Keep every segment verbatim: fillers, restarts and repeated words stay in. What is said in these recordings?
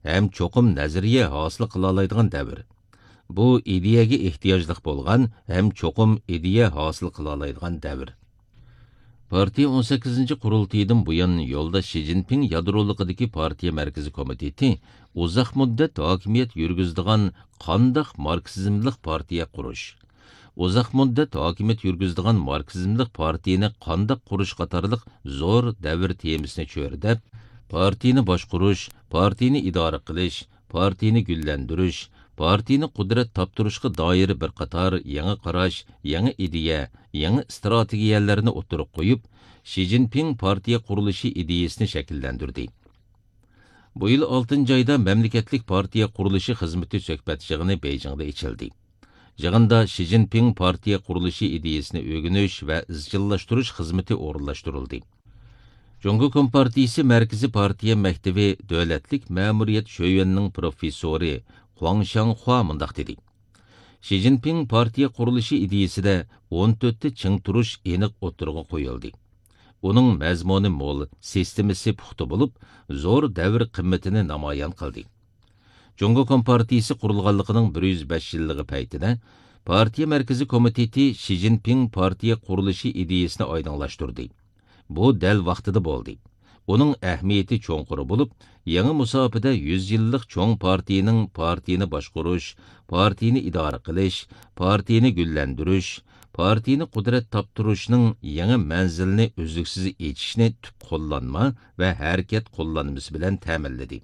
ھەم چوقۇم نەزەرىيە ھاسىل قىلالايدىغان دەۋر. بۇ ئىدىيەگە ئېھتىياجلىق بولغان ھەم چوقۇم ئىدىيە ھاسىل قىلالايدىغان دەۋر. پارتىيە ئون سەككىزىنچى قۇرۇلتىيىدىن بۇيان يولداش شى جىنپىڭ يادرولۇقىدىكى پارتىيە مەركىزىي كومىتېتى ئۇزاق مۇددەت ھاكىمىيەت يۈرگۈزىدىغان قانداق ماركسىزملىق پارتىيە قۇرۇش، ئۇزاق مۇددەت ھاكىمىيەت يۈرگۈزىدىغان ماركسىزملىق پارتىيىنى قانداق قۇرۇش قاتارلىق زور دەۋر تېمىسىنى چۆرىدەپ، پارتىيىنى باشقۇرۇش، پارتىيىنى ئىدارە قىلىش، پارتىيىنى گۈللەندۈرۈش، پارتىيىنى قۇدرەت تاپتۇرۇشقا دائىر بىر قاتار يېڭى قاراش، يېڭى ئىدىيە، يېڭى ئىستراتېگىيەلەرنى ئوتتۇرىغا قويۇپ، شى جىنپىڭ پارتىيە قۇرۇلۇشى ئىدىيىسىنى شەكىللەندۈردى. بۇ يىل ئالتىنچى ئايدا مەملىكەتلىك پارتىيە قۇرۇلۇشى خىزمىتى سۆھبەت يىغىنى بېيجىڭدا ئېچىلدى. يىغىندا شى جىنپىڭ پارتىيە قۇرۇلۇشى ئىدىيىسىنى ئۆگىنىش ۋە ئىزچىللاشتۇرۇش خىزمىتى ئورۇنلاشتۇرۇلدى. جۇڭگو كومپارتىيىسى مەركىزىي پارتىيە مەكتىۋى دۆلەتلىك مەمۇرىيەت شۆيۈەننىڭ پروفېسسورى خۇاڭ شياڭخۇا مۇنداق دېدى: شى جىنپىڭ پارتىيە قۇرۇلۇشى ئىدىيىسىدە ئون تۆتتە چىڭ تۇرۇش ئېنىق ئوتتۇرىغا قويۇلدى. ئۇنىڭ مەزمۇنى مول، سىستېمىسى پۇختا بولۇپ، زور دەۋر قىممىتىنى نامايان قىلدى. جۇڭگو كومپارتىيىسى قۇرۇلغانلىقىنىڭ بىر يۈز بەش يىللىقى پەيتىدە، پارتىيە مەركىزىي كومىتېتى شى جىنپىڭ پارتىيە قۇرۇلۇشى ئىدىيىسىنى ئايدىڭلاشتۇردى. بۇ دەل ۋاقتىدا بولدى. ئۇنىڭ ئەھمىيىتى چوڭقۇر بولۇپ، يېڭى مۇساپىدە يۈز يىللىق چوڭ پارتىيىنىڭ پارتىيىنى باشقۇرۇش، پارتىيىنى ئىدارە قىلىش، پارتىيىنى گۈللەندۈرۈش، پارتىيىنى قۇدرەت تاپتۇرۇشنىڭ يېڭى مەنزىلىنى ئۈزلۈكسىز ئېچىشنى تۈپ قوللانما ۋە ھەرىكەت قوللانمىسى بىلەن تەمىنلىدى.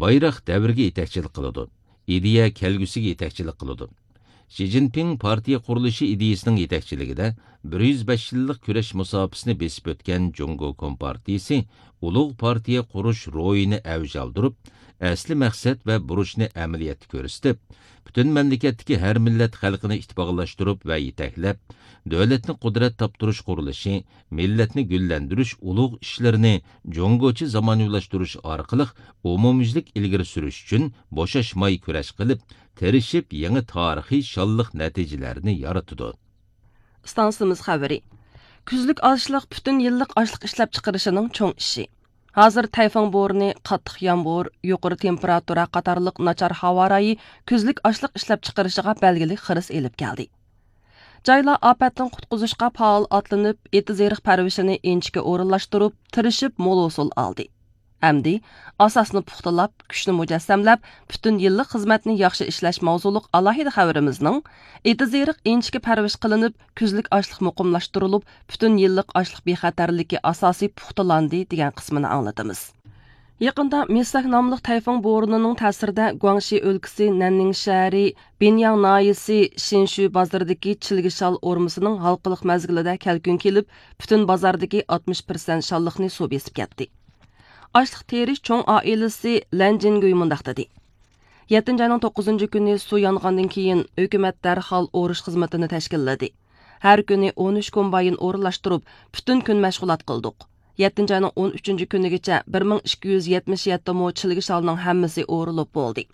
بايراق دەۋرگە يېتەكچىلىك قىلىدۇ، ئىدىيە كەلگۈسىگە يېتەكچىلىك قىلىدۇ. شى جىنپىڭ پارتىيە قۇرۇلۇشى ئىدىيىسىنىڭ يېتەكچىلىكىدە بىر يۈز بەش يىللىق كۈرەش مۇساپىسىنى بېسىپ ئۆتكەن جۇڭگو كومپارتىيىسى ئۇلۇغ پارتىيە قۇرۇش روھىنى ئەۋج ئالدۇرۇپ، ئەسلى مەقسەت ۋە بۇرچنى ئەمەلىيەتتە كۆرسىتىپ، پۈتۈن مەملىكەتتىكى ھەر مىللەت خەلقىنى ئىتتىپاقلاشتۇرۇپ ۋە يېتەكلەپ، دۆلەتنى قۇدرەت تاپتۇرۇش قۇرۇلۇشى، مىللەتنى گۈللەندۈرۈش ئۇلۇغ ئىشلىرىنى جۇڭگوچە زامانىۋىلاشتۇرۇش ئارقىلىق ئومۇميۈزلۈك ئىلگىرى سۈرۈش ئۈچۈن بوشاشماي كۈرەش قىلىپ، تىرىشىپ يېڭى تارىخىي شانلىق نەتىجىلەرنى يارىتىدۇ. ئىستانسىمىز خەۋىرى. كۈزلۈك ئاشلىق پۈتۈن يىللىق ئاشلىق ئىشلەپچىقىرىشىنىڭ چوڭ ئىشى. ھازىر تەيفۇڭ بورىنى، قاتتىق يامغۇر، يۇقىرى تېمپېراتۇرا قاتارلىق ناچار ھاۋا رايى كۈزلۈك ئاشلىق ئىشلەپچىقىرىشىغا بەلگىلىك خىرىس ئېلىپ كەلدى. جايلار ئاپەتتىن قۇتقۇزۇشقا پائال ئاتلىنىپ، ئېتىز-ئېرىق پەرۋىشىنى ئىنچىكە ئورۇنلاشتۇرۇپ، تىرىشىپ مول ھوسۇل ئالدى. ئەمدى ئاساسنى پۇختىلاپ، كۈچنى مۇجەسسەملەپ، پۈتۈن يىللىق خىزمەتنى ياخشى ئىشلەش ماۋزۇلۇق ئالاھىدە خەۋىرىمىزنىڭ ئېتىز-ئېرىق ئىنچىكە پەرۋىش قىلىنىپ، كۈزلۈك ئاشلىق مۇقىملاشتۇرۇلۇپ، پۈتۈن يىللىق ئاشلىق بىخەتەرلىكى ئاساسى پۇختىلاندى دېگەن قىسمىنى ئاڭلىتىمىز. يېقىندا مىسەك ناملىق تەيفۇڭ بورىنىنىڭ تەسىرىدە گۇاڭشى ئۆلكىسى نەننىڭ شەھىرى بىنياڭ ناھىيەسى شىنشۈ بازىرىدىكى چىلگە شال ئورمىسىنىڭ ھالقىلىق مەزگىلىدە كەلكۈن كېلىپ، پۈتۈن بازاردىكى ئاتمىش پىرسەنت شاللىقنى سۇ بېسىپ كەتتى. ئاشلىق تېرىش چوڭ ئائىلىسى لەن جىنگۈي مۇنداق دېدى: يەتتىنچى ئاينىڭ توققۇزىنچى كۈنى سۇ يانغاندىن كېيىن، ھۆكۈمەت دەرھال ئورۇش خىزمىتىنى تەشكىللىدى. ھەر كۈنى ئون ئۈچ كومباين ئورۇنلاشتۇرۇپ، پۈتۈن كۈن مەشغۇلات قىلدۇق. يەتتىنچى ئاينىڭ ئون ئۈچىنچى كۈنىگىچە بىر مىڭ ئىككى يۈز يەتمىش يەتتە مو چىلگە شالنىڭ ھەممىسى ئورۇلۇپ بولدى.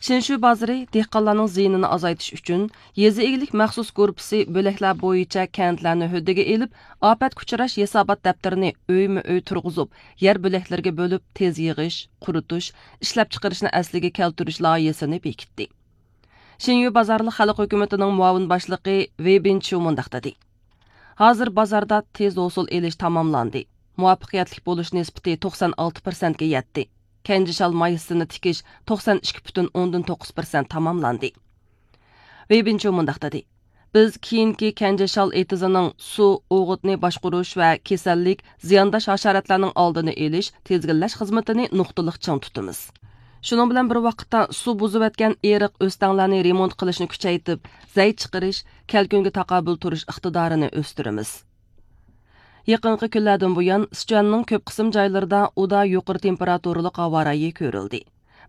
شىنشۇ بازىرى دېھقانلارنىڭ زىيىنىنى ئازايتىش ئۈچۈن، يېزا ئىگىلىك مەخسۇس گۇرۇپپىسى بۆلەكلەر بويىچە كەنتلەرنى ھۆددىگە ئېلىپ، ئاپەتكە ئۇچراش ھېسابات دەپتىرىنى ئۆيمۇ ئۆي تۇرغۇزۇپ، يەر بۆلەكلىرىگە بۆلۈپ، تېز يىغىش، قۇرۇتۇش، ئىشلەپچىقىرىشنى ئەسلىگە كەلتۈرۈش لايىھەسىنى بېكىتتى. شىنيۇ بازارلىق خەلق ھۆكۈمىتىنىڭ مۇئاۋىن باشلىقى ۋېي بىنچيۇ مۇنداق دېدى: ھازىر بازاردا تېز ھوسۇل ئېلىش تاماملاندى. مۇۋەپپەقىيەتلىك بولۇش نىسبىتى توقسان ئالتە پىرسەنتكە يەتتى. كەنجى شال مايسىسىنى تىكىش توقسان ئىككى پۈتۈن ئوندىن توققۇز پىرسەنت تاماملاندى. ۋېي بىنچيۇ مۇنداق دېدى: بىز كېيىنكى كەنجى شال ئېتىزىنىڭ سۇ، ئوغۇتنى باشقۇرۇش ۋە كېسەللىك، زىيانداش ھاشاراتلارنىڭ ئالدىنى ئېلىش، تىزگىنلەش خىزمىتىنى نۇقتىلىق چىڭ تۇتىمىز. شۇنىڭ بىلەن بىر ۋاقىتتا، سۇ بۇزۇۋەتكەن ئېرىق ئۆستەڭلەرنى رېمونت قىلىشنى كۈچەيتىپ، زەي چىقىرىش، كەلكۈنگە تاقابىل تۇرۇش ئىقتىدارىنى ئۆستۈرىمىز. يېقىنقى كۈنلەردىن بۇيان، سىچۈەننىڭ كۆپ قىسىم جايلىرىدا ئۇدا يۇقىرى تېمپېراتۇرىلىق ھاۋا رايى كۆرۈلدى.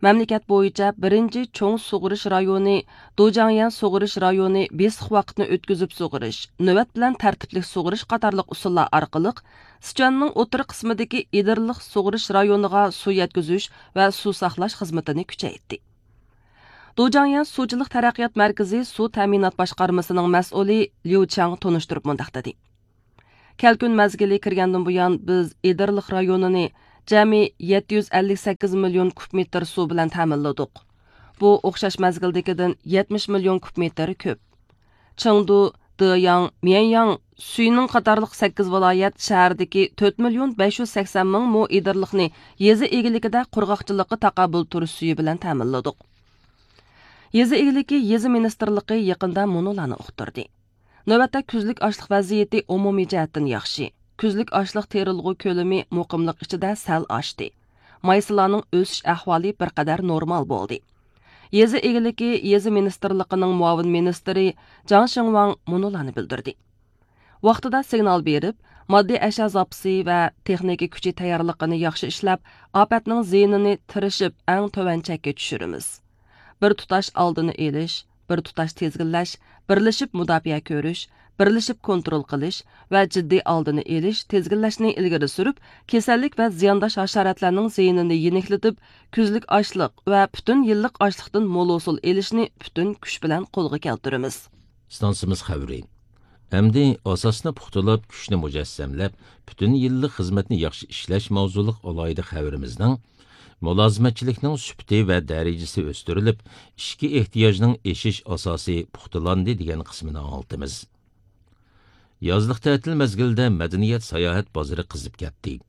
مەملىكەت بويىچە بىرىنچى چوڭ سۇغىرىش رايونى، دۇجياڭيەن سۇغىرىش رايونى بېسىق ۋاقىتنى ئۆتكۈزۈپ سۇغىرىش، نۆۋەت بىلەن تەرتىپلىك سۇغىرىش قاتارلىق ئۇسۇللار ئارقىلىق سىچۈەننىڭ ئوتتۇرا قىسمىدىكى ئېدىرلىق سۇغىرىش رايونىغا سۇ يەتكۈزۈش ۋە سۇ ساقلاش خىزمىتىنى كۈچەيتتى. دۇجياڭيەن سۇچىلىق تەرەققىيات مەركىزى سۇ تەمىنات باشقارمىسىنىڭ مەسئۇلى ليۇ چياڭ تونۇشتۇرۇپ مۇنداق دېدى: كەلكۈن مەزگىلى كىرگەندىن بۇيان، بىز ئېدىرلىق رايونىنى جەمئىي يەتتە يۈز ئەللىك سەككىز مىليون كۇب مېتىر سۇ بىلەن تەمىنلىدۇق. بۇ ئوخشاش مەزگىلدىكىدىن يەتمىش مىليون كۇب مېتىر كۆپ. چېڭدۇ، دېياڭ، ميەنياڭ، سۈينىڭ قاتارلىق سەككىز ۋىلايەت شەھەردىكى تۆت مىليون بەش يۈز سەكسەن مىڭ مو ئېدىرلىقنى يېزا ئىگىلىكىدە قۇرغاقچىلىققا تاقابىل تۇرۇش سۈيى بىلەن تەمىنلىدۇق. يېزا ئىگىلىكى يېزا مىنىستىرلىقى يېقىندا مۇنۇلارنى ئۇقتۇردى. نۆۋەتتە كۈزلۈك ئاشلىق ۋەزىيىتى ئومۇمىي جەھەتتىن ياخشى. كۈزلۈك ئاشلىق تېرىلغۇ كۆلىمى مۇقىملىق ئىچىدە سەل ئاشتى. مايسىلارنىڭ ئۆسۈش ئەھۋالى بىر قەدەر نورمال بولدى. يېزا ئىگىلىكى يېزا مىنىستىرلىقىنىڭ مۇئاۋىن مىنىستىرى جاڭ شىڭۋاڭ مۇنۇلارنى بىلدۈردى. ۋاقتىدا سىگنال بېرىپ، ماددىي ئەشيا زاپىسى ۋە تېخنىكا كۈچى تەييارلىقىنى ياخشى ئىشلەپ، ئاپەتنىڭ زىيىنىنى تىرىشىپ ئەڭ تۆۋەن چەككە چۈشۈرىمىز. بىر تۇتاش ئالدىنى ئېلىش، بىر تۇتاش تىزگىنلەش، بىرلىشىپ مۇداپىئە كۆرۈش، بىرلىشىپ كونترول قىلىش ۋە جىددىي ئالدىنى ئېلىش، تىزگىنلەشنى ئىلگىرى سۈرۈپ، كېسەللىك ۋە زىيانداش ھاشاراتلارنىڭ زىيىنىنى يېنىكلىتىپ، كۈزلۈك ئاشلىق ۋە پۈتۈن يىللىق ئاشلىقتىن مول ھوسۇل ئېلىشنى پۈتۈن كۈچ بىلەن قولغا كەلتۈرىمىز. ئىستانسىمىز خەۋىرى. ئەمدى ئاساسنى پۇختىلاپ، كۈچنى مۇجەسسەملەپ، پۈتۈن يىللىق خىزمەتنى ياخشى ئىشلەش ماۋزۇلۇق ئالاھىدە خەۋىرىمىزنىڭ مۇلازىمەتچىلىكنىڭ سۈپىتى ۋە دەرىجىسى ئۆستۈرۈلۈپ، ئىچكى ئېھتىياجنىڭ ئېشىش ئاساسى پۇختىلاندى دېگەن قىسمىنى ئاڭلىتىمىز. يازلىق تەتىل مەزگىلىدە مەدەنىيەت ساياھەت بازىرى قىزىپ كەتتى.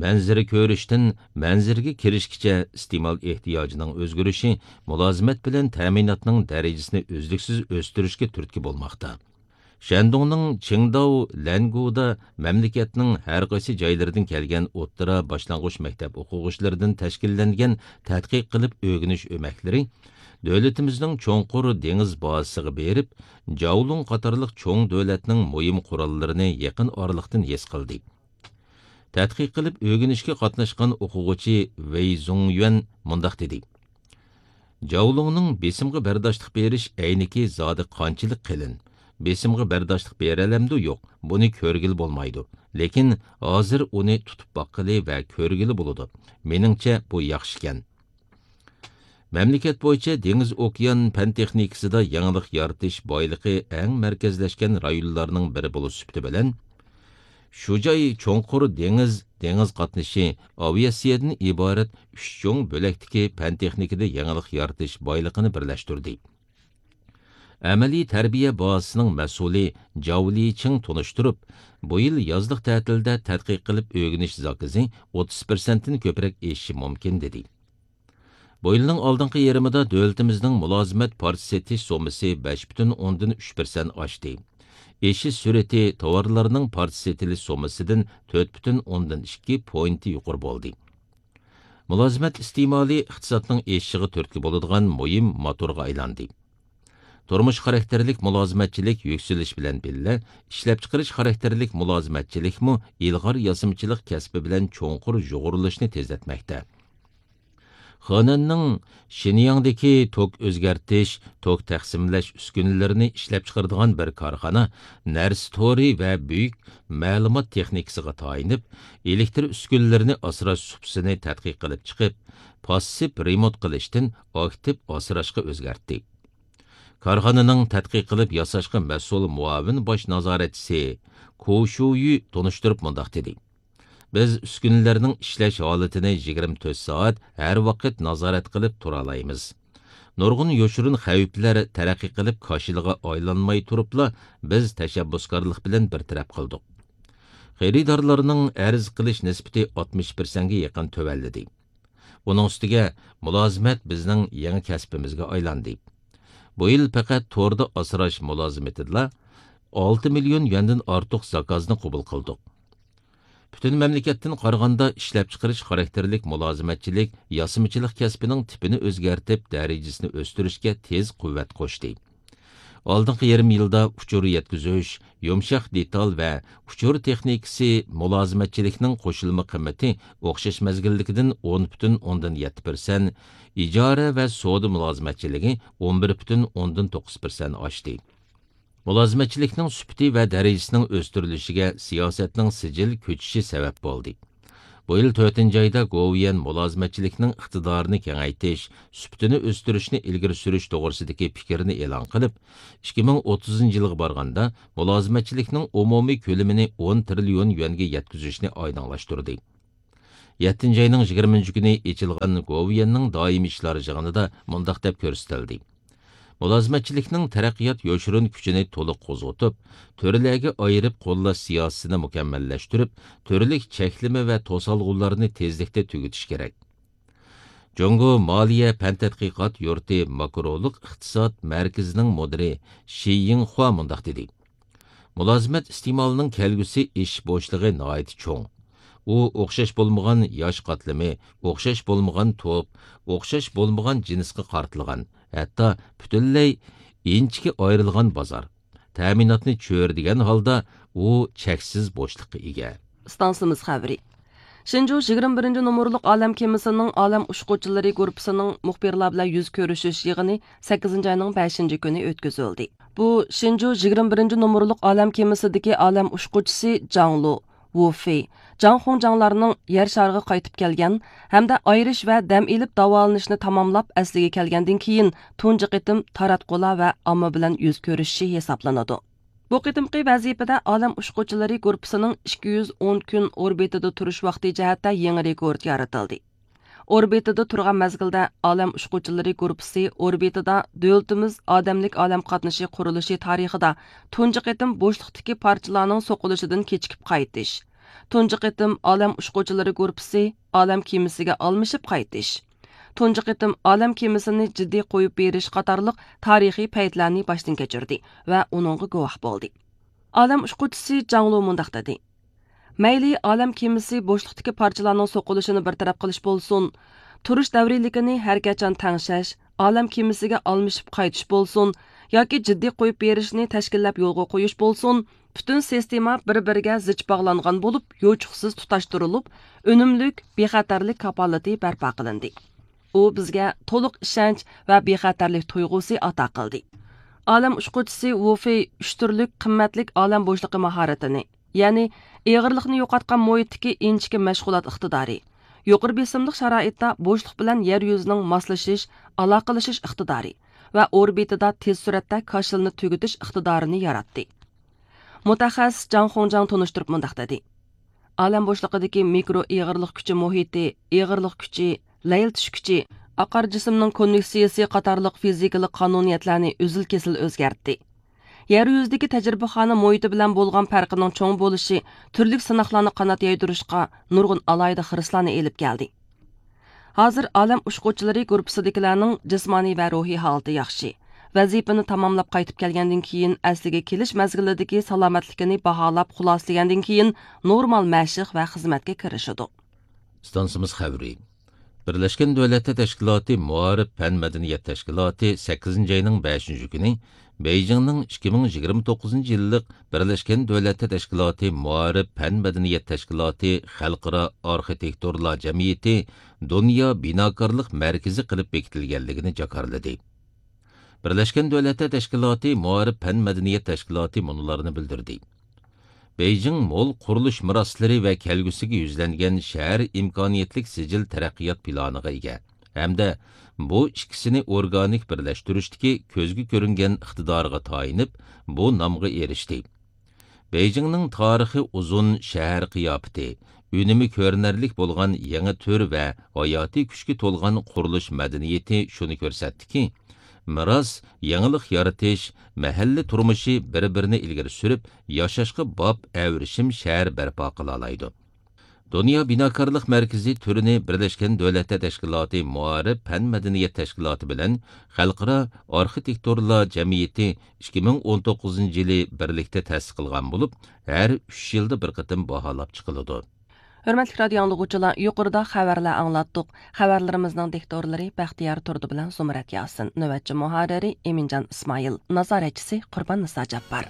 مەنزىرە كۆرۈشتىن مەنزىرىگە كىرىشكىچە ئىستېمال ئېھتىياجىنىڭ ئۆزگىرىشى مۇلازىمەت بىلەن تەمىناتنىڭ دەرىجىسىنى ئۈزلۈكسىز ئۆستۈرۈشكە تۈرتكە بولماقتا. شەندۇڭنىڭ چىڭداۋ لەنگۇدا مەملىكەتنىڭ ھەر قايسى جايلىرىدىن كەلگەن ئوتتۇرا، باشلانغۇچ مەكتەپ ئوقۇغۇچىلىرىدىن تەشكىللەنگەن تەتقىق قىلىپ ئۆگىنىش ئۆمەكلىرى دۆلىتىمىزنىڭ چوڭقۇر دېڭىز بازىسىغا بېرىپ، جاۋلۇڭ قاتارلىق چوڭ دۆلەتنىڭ مۇھىم قوراللىرىنى يېقىن ئارىلىقتىن ھېس قىلدى. تەتقىق قىلىپ ئۆگىنىشكە قاتناشقان ئوقۇغۇچى ۋېي زۇڭيۈەن مۇنداق دېدى: جاۋلۇڭنىڭ بېسىمغا بەرداشلىق بېرىش ئەينىكى زادى قانچىلىك قېلىن؟ بېسىمغا بەرداشلىق بېرەلەمدۇ؟ يوق، بۇنى كۆرگىلى بولمايدۇ. لېكىن ھازىر ئۇنى تۇتۇپ باققىلى ۋە كۆرگىلى بولىدۇ. مېنىڭچە، بۇ ياخشىكەن. مەملىكەت بويىچە دېڭىز ئوكيان پەن تېخنىكىسىدا يېڭىلىق يارىتىش بايلىقى ئەڭ مەركەزلەشكەن رايونلارنىڭ بىرى بولۇش سۈپىتى بىلەن، شۇ جاي چوڭقۇر دېڭىز، دېڭىز قاتنىشى، ئاۋىئاتسىيەدىن ئىبارەت ئۈچ چوڭ بۆلەكتىكى پەن تېخنىكىدا يېڭىلىق يارىتىش بايلىقىنى بىرلەشتۈردى. ئەمەلىي تەربىيە بازىسىنىڭ مەسئۇلى جاۋ لىچىڭ تونۇشتۇرۇپ، بۇ يىل يازلىق تەتىلدە تەتقىق قىلىپ ئۆگىنىش زاكىزى ئوتتۇز پىرسەنتتىن كۆپرەك ئېشىشى مۇمكىن، دېدى. بۇ يىلنىڭ ئالدىنقى يېرىمىدا دۆلىتىمىزنىڭ مۇلازىمەت پارچە سېتىش سوممىسى بەش پۈتۈن ئوندىن ئۈچ پىرسەنت ئاشتى. ئېشىش سۈرئىتى تاۋارلارنىڭ پارچە سېتىلىش سوممىسىدىن تۆت پۈتۈن ئوندىن ئىككى پوينت يۇقىرى بولدى. مۇلازىمەت ئىستېمالى ئىقتىسادنىڭ ئېشىشىغا تۈرتكە بولىدىغان مۇھىم موتورغا ئايلاندى. تۇرمۇش خاراكتېرلىك مۇلازىمەتچىلىك يۈكسىلىش بىلەن بىللە، ئىشلەپچىقىرىش خاراكتېرلىك مۇلازىمەتچىلىكمۇ ئىلغار ياسىمىچىلىق كەسپى بىلەن چوڭقۇر يۇغۇرۇلۇشنى تېزلەتمەكتە. خېنەننىڭ شىنياڭدىكى توك ئۆزگەرتىش، توك تەقسىملەش ئۈسكۈنىلىرىنى ئىشلەپچىقىرىدىغان بىر كارخانا نەرسە تورى ۋە بۈيۈك مەلۇمات تېخنىكىسىغا تايىنىپ، ئېلېكتر ئۈسكۈنىلىرىنى ئاسراش سۇپىسىنى تەتقىق قىلىپ چىقىپ، پاسسىپ رېمونت قىلىشتىن ئاكتىپ ئاسراشقا ئۆزگەرتتى. كارخانىنىڭ تەتقىق قىلىپ ياساشقا مەسئۇل مۇئاۋىن باش نازارەتچىسى كو شۇيۈ تونۇشتۇرۇپ مۇنداق دېدى: بىز ئۈسكۈنىلەرنىڭ ئىشلەش ھالىتىنى يىگىرمە تۆت سائەت ھەر ۋاقىت نازارەت قىلىپ تۇرالايمىز. نۇرغۇن يوشۇرۇن خەۋپلەر تەرەققىي قىلىپ كاشىلىغا ئايلانماي تۇرۇپلا، بىز تەشەببۇسكارلىق بىلەن بىر تەرەپ قىلدۇق. خېرىدارلارنىڭ ئەرز قىلىش نىسبىتى ئاتمىش پىرسەنتكە يېقىن تۆۋەنلىدى. ئۇنىڭ ئۈستىگە مۇلازىمەت بىزنىڭ يېڭى كەسپىمىزگە ئايلاندى. بۇ يىل پەقەت توردا ئاسراش مۇلازىمىتىدىلا ئالتە مىليون يۈەندىن ئارتۇق زاكازنى قوبۇل قىلدۇق. پۈتۈن مەملىكەتتىن قارىغاندا، ئىشلەپچىقىرىش خاراكتېرلىك مۇلازىمەتچىلىك، ياسىمىچىلىق كەسپىنىڭ تىپىنى ئۆزگەرتىپ، دەرىجىسىنى ئۆستۈرۈشكە تېز قۇۋۋەت قوشتى. ئالدىنقى يېرىم يىلدا ئۇچۇر يەتكۈزۈش، يۇمشاق دېتال ۋە ئۇچۇر تېخنىكىسى مۇلازىمەتچىلىكنىڭ قوشۇلما قىممىتى ئوخشاش مەزگىلدىكىدىن ئون پۈتۈن ئوندىن يەتتە پىرسەنت، ئىجارە ۋە سودا مۇلازىمەتچىلىكى ئون بىر پۈتۈن ئوندىن توققۇز پىرسەنت ئاشتى. مۇلازىمەتچىلىكنىڭ سۈپىتى ۋە دەرىجىسىنىڭ ئۆستۈرۈلۈشىگە سىياسەتنىڭ سىجىل كۆچۈشى سەۋەب بولدى. بۇ يىل تۆتىنچى ئايدا گوۋۇيۈەن مۇلازىمەتچىلىكنىڭ ئىقتىدارىنى كېڭەيتىش، سۈپىتىنى ئۆستۈرۈشنى ئىلگىرى سۈرۈش توغرىسىدىكى پىكىرنى ئېلان قىلىپ، ئىككى مىڭ ئوتتۇزىنچى يىلغا بارغاندا مۇلازىمەتچىلىكنىڭ ئومۇمىي كۆلىمىنى ئون تىرىليون يۈەنگە يەتكۈزۈشنى ئايدىڭلاشتۇردى. يەتتىنچى ئاينىڭ يىگىرمىنچى كۈنى ئېچىلغان گوۋۇيۈەننىڭ دائىمىي ئىشلار يىغىنىدا مۇنداق دەپ كۆرسىتىلدى: مۇلازىمەتچىلىكنىڭ تەرەققىيات يوشۇرۇن كۈچىنى تولۇق قوزغىتىپ، تۈرلەرگە ئايرىپ قوللاش سىياسىتىنى مۇكەممەللەشتۈرۈپ، تۈرلۈك چەكلىمە ۋە توسالغۇلارنى تېزلىكتە تۈگىتىش كېرەك. جۇڭگو مالىيە پەن تەتقىقات يۇرتى ماكرولۇق ئىقتىساد مەركىزىنىڭ مۇدىرى شى يىڭخۇا مۇنداق دېدى: مۇلازىمەت ئىستېمالىنىڭ كەلگۈسى ئېشىش بوشلۇقى ناھايىتى چوڭ. ئۇ ئوخشاش بولمىغان ياش قاتلىمى، ئوخشاش بولمىغان توپ، ئوخشاش بولمىغان جىنسقا قارىتىلغان، ھەتتا پۈتۈنلەي ئىنچىكە ئايرىلغان بازار. تەمىناتنى چۆرىدىگەن ھالدا ئۇ چەكسىز بوشلۇققا ئىگە. ئىستانسىمىز خەۋىرى. شىنجۇ يىگىرمە بىرىنچى نومۇرلۇق ئالەم كېمىسىنىڭ ئالەم ئۇچقۇچىلىرى گۇرۇپپىسىنىڭ مۇخبىرلار بىلەن يۈز كۆرۈشۈش يىغىنى سەككىزىنچى ئاينىڭ بەشىنچى كۈنى ئۆتكۈزۈلدى. بۇ شىنجۇ يىگىرمە بىرىنچى نومۇرلۇق ئالەم كېمىسىدىكى ئالەم ئۇچقۇچىسى جاڭ لۇ، ۋۇ فېي، جاڭ خۇڭجاڭلارنىڭ يەر شارىغا قايتىپ كەلگەن ھەمدە ئايرىش ۋە دەم ئېلىپ داۋالىنىشنى تاماملاپ ئەسلىگە كەلگەندىن كېيىن تۇنجى قېتىم تاراتقۇلار ۋە ئامما بىلەن يۈز كۆرۈشۈشى ھېسابلىنىدۇ. بۇ قېتىمقى ۋەزىپىدە ئالەم ئۇچقۇچىلىرى گۇرۇپپىسىنىڭ ئىككى يۈز ئون كۈن ئوربىتىدا تۇرۇش ۋاقتى جەھەتتە يېڭى رېكورت يارىتىلدى. ئوربىتىدا تۇرغان مەزگىلدە ئالەم ئۇچقۇچىلىرى گۇرۇپپىسى ئوربىتىدا دۆلىتىمىز ئادەملىك ئالەم قاتنىشى قۇرۇلۇشى تارىخىدا تۇنجى قېتىم بوشلۇقتىكى پارچىلارنىڭ سوقۇلۇشىدىن كېچىكىپ قايتىش، تۇنجى قېتىم ئالەم ئۇچقۇچىلىرى گۇرۇپپىسى ئالەم كېمىسىگە ئالمىشىپ قايتىش، تۇنجى قېتىم ئالەم كېمىسىنى جىددىي قويۇپ بېرىش قاتارلىق تارىخىي پەيتلەرنى باشتىن كەچۈردى ۋە ئۇنىڭغا گۇۋاھ بولدى. ئالەم ئۇچقۇچىسى جاڭ لۇ مۇنداق دېدى: مەيلى ئالەم كېمىسى بوشلۇقتىكى پارچىلارنىڭ سوقۇلۇشىنى بىر تەرەپ قىلىش بولسۇن، تۇرۇش دەۋرىيلىكىنى ھەر قاچان تەڭشەش، ئالەم كېمىسىگە ئالمىشىپ قايتىش بولسۇن ياكى جىددىي قويۇپ بېرىشنى تەشكىللەپ يولغا قويۇش بولسۇن، پۈتۈن سىستېما بىر-بىرىگە زىچ باغلانغان بولۇپ، يوچۇقسىز تۇتاشتۇرۇلۇپ، ئۈنۈملۈك، بىخەتەرلىك كاپالىتى بەرپا قىلىندى. ئۇ بىزگە تولۇق ئىشەنچ ۋە بىخەتەرلىك تۇيغۇسى ئاتا قىلدى. ئالەم ئۇچقۇچىسى ۋۇ فېي ئۈچ تۈرلۈك قىممەتلىك ئالەم بوشلۇقى ماھارىتىنى، يەنى ئېغىرلىقنى يوقاتقان مۇھىتتىكى ئىنچىكە مەشغۇلات ئىقتىدارى، يۇقىرى بېسىملىق شارائىتتا بوشلۇق بىلەن يەر يۈزىنىڭ ماسلىشىش، ئالاقىلىشىش ئىقتىدارى ۋە ئوربىتىدا تېز سۈرئەتتە كاشىلنى تۈگىتىش ئىقتىدارىنى ياراتتى. مۇتەخەسسىس جاڭ خۇڭجاڭ تونۇشتۇرۇپ مۇنداق دېدى: ئالەم بوشلۇقىدىكى مىكرو ئېغىرلىق كۈچى مۇھىتى، ئېغىرلىق كۈچى، لەيلىتىش كۈچى، ئاقار جىسىمنىڭ كونۋېكسىيىسى قاتارلىق فىزىكىلىق قانۇنىيەتلەرنى ئۈزۈل-كېسىل ئۆزگەرتتى. يەر يۈزىدىكى تەجرىبىخانا مۇھىتى بىلەن بولغان پەرقىنىڭ چوڭ بولۇشى تۈرلۈك سىناقلارنى قانات يايدۇرۇشقا نۇرغۇن ئالاھىدە خىرىسلارنى ئېلىپ كەلدى. ھازىر ئالەم ئۇچقۇچىلىرى گۇرۇپپىسىدىكىلەرنىڭ جىسمانىي ۋە روھىي ھالىتى ياخشى. ۋەزىپىنى تاماملاپ قايتىپ كەلگەندىن كېيىن ئەسلىگە كېلىش مەزگىلىدىكى سالامەتلىكىنى باھالاپ خۇلاسىلىگەندىن كېيىن نورمال مەشىق ۋە خىزمەتكە كىرىشىدۇ. ئىستانسىمىز خەۋىرى. بىرلەشكەن دۆلەتلەر تەشكىلاتى مائارىپ پەن مەدەنىيەت تەشكىلاتى سەككىزىنچى ئاينىڭ بەشىنچى كۈنى بېيجىڭنىڭ ئىككى مىڭ يىگىرمە توققۇزىنچى يىللىق بىرلەشكەن دۆلەتلەر تەشكىلاتى مائارىپ پەن مەدەنىيەت تەشكىلاتى خەلقئارا ئارخىتېكتورلار جەمئىيىتى دۇنيا بىناكارلىق مەركىزى قىلىپ بېكىتىلگەنلىكىنى جاكارلىدى. بىرلەشكەن دۆلەتلەر تەشكىلاتى مائارىپ پەن مەدەنىيەت تەشكىلاتى مۇنۇلارنى بىلدۈردى: بېيجىڭ مول قۇرۇلۇش مىراسلىرى ۋە كەلگۈسىگە يۈزلەنگەن شەھەر ئىمكانىيەتلىك سىجىل تەرەققىيات پىلانىغا ئىگە ھەمدە بۇ ئىككىسىنى ئورگانىك بىرلەشتۈرۈشتىكى كۆزگە كۆرۈنگەن ئىقتىدارىغا تايىنىپ، بۇ نامغا ئېرىشتى. بېيجىڭنىڭ تارىخى ئۇزۇن، شەھەر قىياپىتى، ئۈنۈمى كۆرۈنەرلىك بولغان يېڭى تۈر ۋە ھاياتىي كۈچكە تولغان قۇرۇلۇش مەدەنىيىتى شۇنى كۆرسەتتىكى، مىراس، يېڭىلىق يارىتىش، مەھەللە تۇرمۇشى بىر-بىرىنى ئىلگىرى سۈرۈپ، ياشاشقا باب ئەۋرىشىم شەھەر بەرپا قىلالايدۇ. دۇنيا بىناكارلىق مەركىزى تۈرىنى بىرلەشكەن دۆلەتلەر تەشكىلاتى مائارىپ پەن مەدەنىيەت تەشكىلاتى بىلەن خەلقئارا ئارخىتېكتورلار جەمئىيىتى ئىككى مىڭ ئون توققۇزىنچى يىلى بىرلىكتە تەسىس قىلغان بولۇپ، ھەر ئۈچ يىلدا بىر قېتىم باھالاپ چىقىلىدۇ. ھۆرمەتلىك رادىئو ئاڭلىغۇچىلار، يۇقىرىدا خەۋەرلەر ئاڭلاتتۇق. خەۋەرلىرىمىزنىڭ دىكتورلىرى بەختىيار تۇردى بىلەن زۇمرەت ياسىن، نۆۋەتچى مۇھەررىرى ئىمىنجان ئىسمائىل، نازارەتچىسى قۇربان نىسا جاپپار.